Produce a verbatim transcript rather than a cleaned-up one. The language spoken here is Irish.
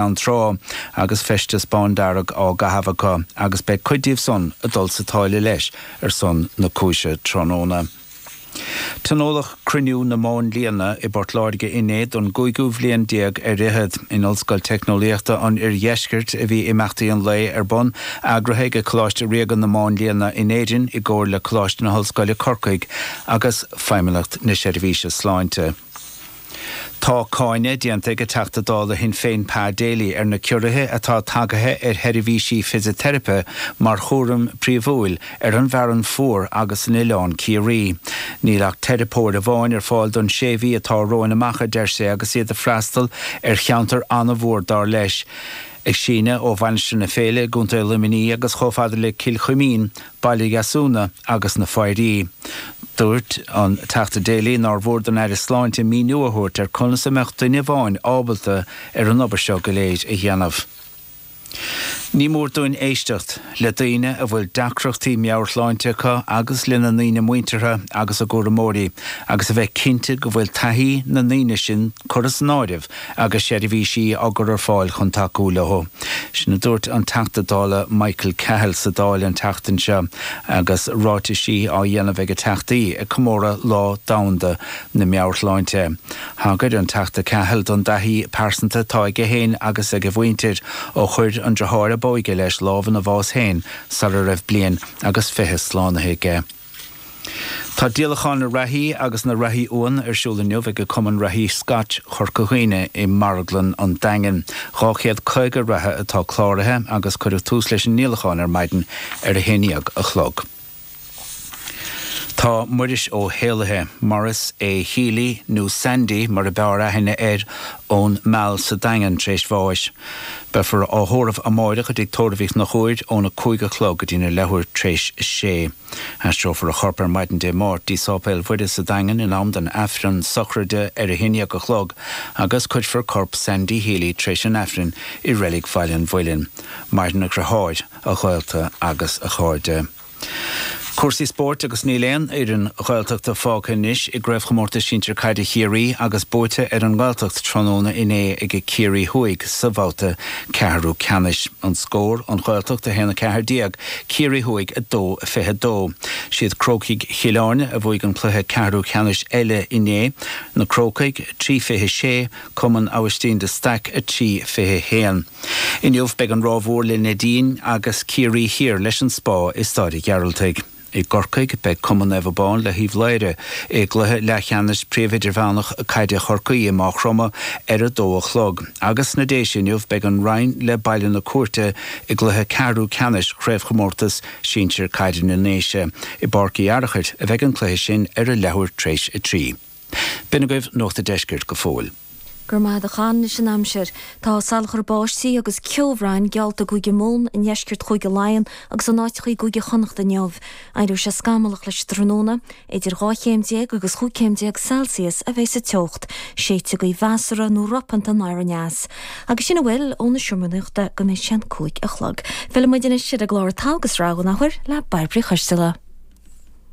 Gleann Trá agus feisteas bándearg á gcaitheamh acu agus beidh cuid díobh san ag dul sa táille leis ar son na cúise tráthnóna. Tionóladh Cruinniú na Máinlianna i bPort Láirge inné don gcúigiú bhliain déag ar fhichead. In Ollscoil Teicneolaíochta an Oirdheiscirt a bhí imeachtaí an lae ar bun, eagraithe ag Coláiste Ríoga na Máinlianna in Éirinn i gcomhar le Coláiste na hOllscoile Corcaigh agus Feidhmeannacht na Seirbhíse Sláinte. Tá cáineadh déanta ag an Teachta Dála Shinn Féin Pa Daly ar na ciorruithe atá tagaithe ar sheirbhísí fisiteiripe mar chúram príomhúil ar an bhFearann Fuar agus in Oileán Ciarraí. Níl ach teiripeoir amháin ar fáil don sé mhí atá romhainn amach, a deir sé, agus iad ag freastal ar cheantar an-mhór dar leis. Ag síneadh ó Mhainistir na Féile i gContae Luimnigh agus chomh fada le Cill Chuimín, Baile Dheasúna agus na Foidhrí. Dúirt an Teachta Daly nár mhór don Aire Sláinte míniú a thabhairt ar conas a mbeadh duine amháin ábalta ar an obair seo go léir a dhéanamh. Ní mór dúinn éisteacht le daoine a bhfuil deacrachtaí meabhairshláinte acu agus lena ndaoine muinteartha agus a gcúramóirí agus a bheith cinnte go bhfuil taithí na ndaoine sin curtha san áireamh agus seirbhísí á gcur ar fáil chun tacú leo. Sin a dúirt an Teachta Dála Michael Cahill sa Dáil an tseachtain seo agus ráitisí á dhéanamh ag teachtaí ag comóradh Lá Domhanda na Meabhairshláinte. Thagair an Teachta Cahill don dtaithí pearsanta atá aige féin agus ag a mhuintir ó chuir an deartháir ab óige leis lámh ina bhás féin sara raibh bliain agus fiche slánaithe aige. Tá díolachán na reathaí agus na reathaí uan ar siúl inniu ag Cumann Reathaí Scotch Chorca Dhuibhne i Marglann an Daingin. Dhá chéad caoga reatha atá cláraithe agus cuireadh tús leis an ndíolachán ar maidin ar a haon déag a chlog. Tá Muiris Ó hÉalaithe, Maurice A. Healy nó Sandy mar a b'fhearr aithne air ón Meal sa Daingean tar éis bháis. Beifear á thórramh amárach i dtigh tórraimh Uí Chonchúir óna cúig a chlog go dtína leathuair tar éis a sé. Aistreofar a chorp ar maidin Dé Máirt dtí Sáipéal Mhuire sa Daingean in am don Aifreann sochraide ar a haon déag a chlog agus cuirfear corp Sandy Healy tar éis an Aifrinn i Reilig Bhaile an Mhuilinn. Maireann a dheartháir, a ghaolta agus a chairde. Cúrsaí spóirt agus níl aon fhoireann Ghaeltachta fágtha anois i gCraobhchomórtas Sinsir Caide Chiarraí agus buaite ar an nGaeltacht tráthnóna inné ag Ciarraí Thuaidh sa bhabhta ceathrú ceannais. An scór, An Ghaeltacht a haon a ceathair déag, Ciarraí Thuaidh a dó a fiche dó. Siad Crócaigh Chill Airne a bhuaigh an cluiche ceathrú ceannais eile inné, Na Crócaigh trí fiche sé, Cumann Abhaistín de Staic a trí fiche haon. Inniu beidh an Ráth Mhór le Neidín agus Ciarraí Thiar leis an Spá i Staid an Ghearaltaigh. I gCorcaigh beidh Cumann Naomh Abán le hUíbh Laoire i gcluiche leathcheannais Príomh Idirmheánach Caide Chorcaí i Maigh Chromtha ar a dó a chlog. Agus sna Déise inniu beidh an Rinn le Baile na Cúirte i gcluiche ceathrú ceannais Chraobhchomórtas Sinsir Caide na nDéise. I bPáirc Uí Fhearchair a bheidh an cluiche sin ar a leathuair tar éis a trí. B'in agaibh Nuacht an Deiscirt go fóill. Go raibh maith agat a Chon. Anois an aimsir. Tá salachar báistí agus ceobhráin geallta i gCúige Mumhan, i ndeisceart Chúige Laighean agus in áiteacha i gCúige Chonnacht inniu. Éireoidh sé scamallach leis an tráthnóna. Idir dhá chéim déag agus chúig chéim déag Celsius a bheidh sa teocht. Séidfidh gaoth mheasartha nó ropánta anoir aneas. Agus sin a bhfuil ó na Seomraí Nuachta go mbeidh sé an cúig a chlog. Fillfidh muid anois ar an gclár Togha agus Rogha an athuair le Bairbre Uí Choisteala.